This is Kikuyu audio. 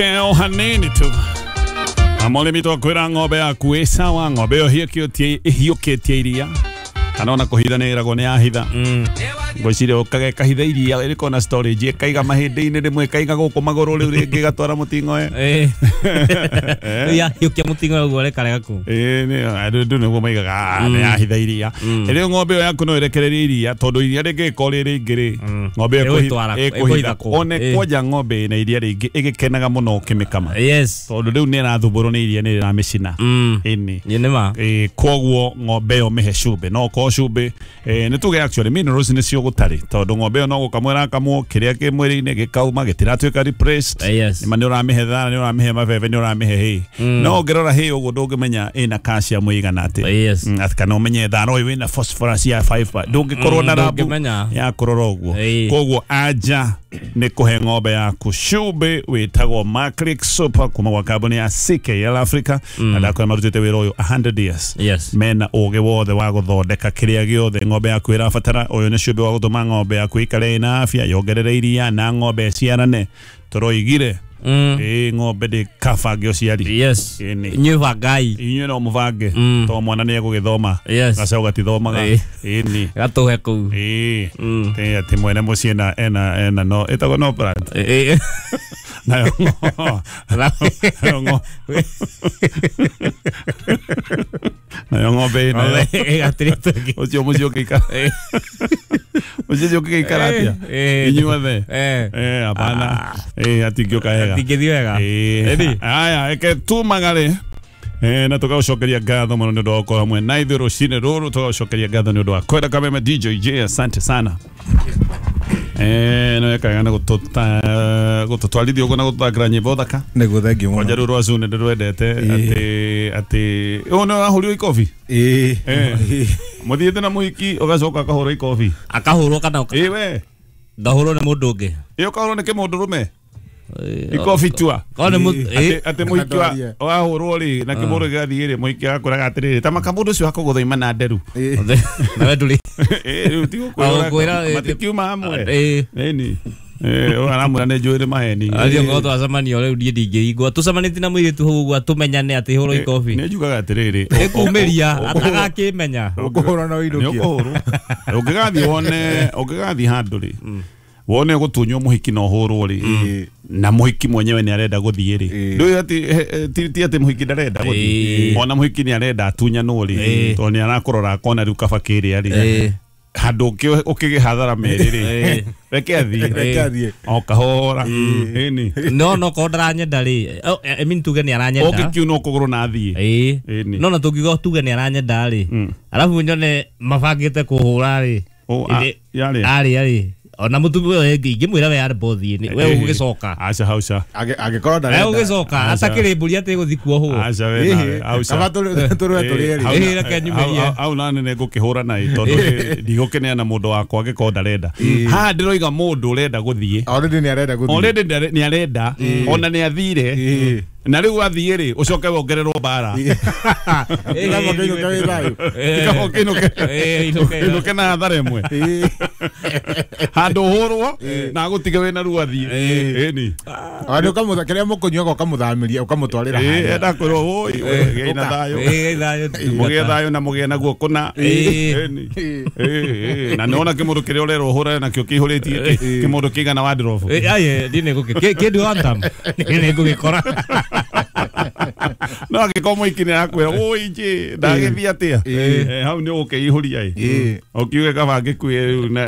Tũcoke o hanini tu. Amole twakwĩra ng'ombe yaku ĩ sawa, ng'ombe ĩyo ĩhiũkĩtie iria kana ona kũhitha nĩ ĩragwo nĩ yahitha. Ngwĩciria ũkage kahitha iria ĩrĩkorwo na storage, ĩkaiga mahĩndĩ-inĩ rĩmwe, ĩkaiga gũkũ magũrũ, rĩu rĩngĩ ĩgatwara mũting'oe. Rĩu yahiũkia mũting'oe ũguo rekarega kũ. Ĩĩ, andũ nĩguo maigaga, "Ah, nĩ yahitha iria." Rĩu ng'ombe ĩyo yaku no ĩrekererie iria, tondũ iria rĩngĩgĩkorwo rĩ rĩingĩ rĩ, ng'ombe ĩyo Ĩgũtwara- ĩkũhitha ĩkũhitha kũ? One kwanja ng'ombe ĩna iria rĩingĩ ĩgĩkenaga mũno ũkĩmĩkama, tondũ rĩu nĩ ĩrathumbũrwo nĩ iria, nĩ rĩramĩcina. Ĩni. Nĩ nĩma. Koguo ng'ombe ĩyo mĩhe cumbĩ, no okorwo cumbĩ nĩ tuge actually minerals nĩcio gũtarĩ, tondũ ng'ombe ĩyo no gũkamwo ĩrakamwo, kĩrĩa kĩ mwĩrĩ-inĩ gĩkauma, gĩtiratuĩka replaced. Nĩma nĩ ũramĩhe thara, nĩ ũramĩhe mabebe, nĩ ũramĩhe hay, no ũngĩrora hay ũguo ndũngĩmenya ĩna calcium ĩigana atĩa. Atĩ kana ũmenye thara ũyũ wĩna phosphorus ya 5, ndũngĩkorwo na rabu Ndũngĩmenya. ya kũrora ũguo. Koguo anja nĩ kũhe ng'ombe yaku cumbĩ wĩtagwo Maclick Super kuma gwa kambuni ya CKL Africa, na ndakwĩra marutĩte wĩra ũyũ 100 years. Mena ũgĩ wothe wa gũthondeka kĩrĩa gĩothe ng'ombe yaku ĩrabatara. Ũyũ nĩ cumbĩ wa gũtũma ng'ombe yaku ĩikare ĩna afya, yongerere iria na ng'ombe ĩciarane. Tũroigire ĩĩ, ng'ombe ndĩkabange ũciari. Ĩni. Inyuĩ bangai. Inyuĩ no mũbange, tondũ mwana nĩ egũgĩthoma. Gacaũ gatithomaga. Ĩni. Gatũhe kũu. Ĩĩ. Ĩ, atĩ mwene mũciĩ ena ena no ĩtagwo no plant. Nayo nayo ng'ombe ĩnayo. Ĩgatirĩ tũngĩ. Ũcio mũciĩ ũngĩikara, mũciĩ ũcio ũngĩgĩikara atĩa inyuothe? Hapana, hatingĩũka wega. Hatingĩthiĩ wega. Ĩni. Aya, reke tumagare na tũgagũcokeria ngatho mũno nĩ ũndũ wa gũkorwo hamwe na ithuĩ rũcinĩ rũrũ. Tũgagũcokeria ngatho nĩ ũndũ wa kwenda Kameme. DJ J, asante sana. No ekaga na gũtũtwarithia ũguo na gũtũthakĩra nyĩmbo thaka. Nĩguo, thengiũ Kwanja mũno. rũu rwa Zune ndĩrwendete, atĩ ũyũ nĩ wahũrirwo ikobi. Ĩĩ. Mũthiĩte na mũhiki, ũgacoka akahũrwo ikobi. Akahũrwo kana Ĩ we. Ngahũrwo nĩ mũndũ ũngĩ? Ĩ, ũkahũrwo nĩ kĩmũndũrũme ikobi tua. Korwo nĩ Atĩ mũhiki Ndwarie. wahũrwo rĩ, na kĩmũndũ gĩgathiĩ rĩ, mũhiki agakwĩraga atĩrĩrĩ, ta maka mũndũ ũcio akũgũtha na nderu. Nawe ndũrĩ. Ĩ, rĩu ti Agũkwĩra, gũkwĩra matikiuma hamwe. Ĩni. Ũyũ aramwĩra nĩ njũĩ nĩ maheni. Athiĩ ngorwo twacemania rĩu, niĩ ndingĩigua tũcemanĩtie na mũirĩtu hau ũguo tũmenyane atĩ hũrwo ikobi. Nĩ njugaga atĩrĩrĩ, Ĩkumĩria atagakĩmenya. Ũkũhũra na nĩ ũinũkio. ũkũhũrwo. Ũngĩgathiĩ wone, ũngĩgathiĩ handũ rĩ, wone gũtunywo mũhiki na ũhũrwo rĩ, na mũhiki mwenyewe nĩ arenda gũthiĩ rĩ, ndũĩ atĩ ti atĩ mũhiki ndarenda gũthiĩ, ona mũhiki nĩ arenda atunyanwo rĩ, tondũ nĩ arakũrora akona rĩu kaba kĩrĩa rĩ, handũ ũkĩgĩ hathara merĩ rĩ, reke athiĩ. Reke athiĩ. O kahora. Ĩni. No korwo ndaranyenda rĩ, oh, I mean tuge nĩ aranyenda. Ũngĩkiuna ũkũgũrũ na athiĩ. Ĩni. No na tũngiuga tuge nĩ aranyenda rĩ, arabu nyone mabangĩte kũhũra rĩ, Oh, yarĩa. Arĩa rĩ, ona mũtumia ũyũ ingĩmwĩra we arĩ bothi we ũgĩcoka. Aca hauca. Angĩkorwo We ndarenda. ũgĩcoka Aca. atakĩrĩ mbũri atĩ gũthiĩ kuohwo. Aca we nawe hauca. Kaba tũrũe tũrĩ erĩ. Reke nyumĩrie. Hau nani nĩ ngũkĩhũra naĩ, tondũ ndigũkĩneana mũndũ wakwa angĩkorwo ndarenda. Haha ndĩroiga mũndũ ũrenda gũthiĩ. Already nĩ arenda gũthiĩ. Already nĩ arenda, ona nĩ athire, na rĩu athiĩ rĩ, ũcoke wongererwo mbara. Kaba kĩinũke wĩ thayũ. Kaba ũkĩinũke. Inũke. Inũke na hathara ĩmwe, handũ ũhũrwo na agũtige wĩna ruo athiĩ. Ĩni. Ona kĩrĩa mũkũnyuaga ũkamũthamĩria, ũkamũtwarĩra harĩa. Enda kwĩrwo woi, gĩai na thayũ. Thayũ. Mũgĩe thayũ na mũgĩe naguo kũna. Ĩni. Ĩ, na nĩwona kĩmũndũ kĩrĩa ũrerwo ũhũrane nakĩo kĩihũrĩtie kĩmũndũ kĩigana wardrobe. Aye, niĩ nĩngũkĩ kĩndũ one time niĩ nĩngũgĩkora. No angĩkorwo mũhiki nĩ arakwĩra woi njĩ ndagĩthiĩ atĩa, hau nĩ ũgũkĩihũria ĩ, ũkiuge kaba ngĩkue rĩu.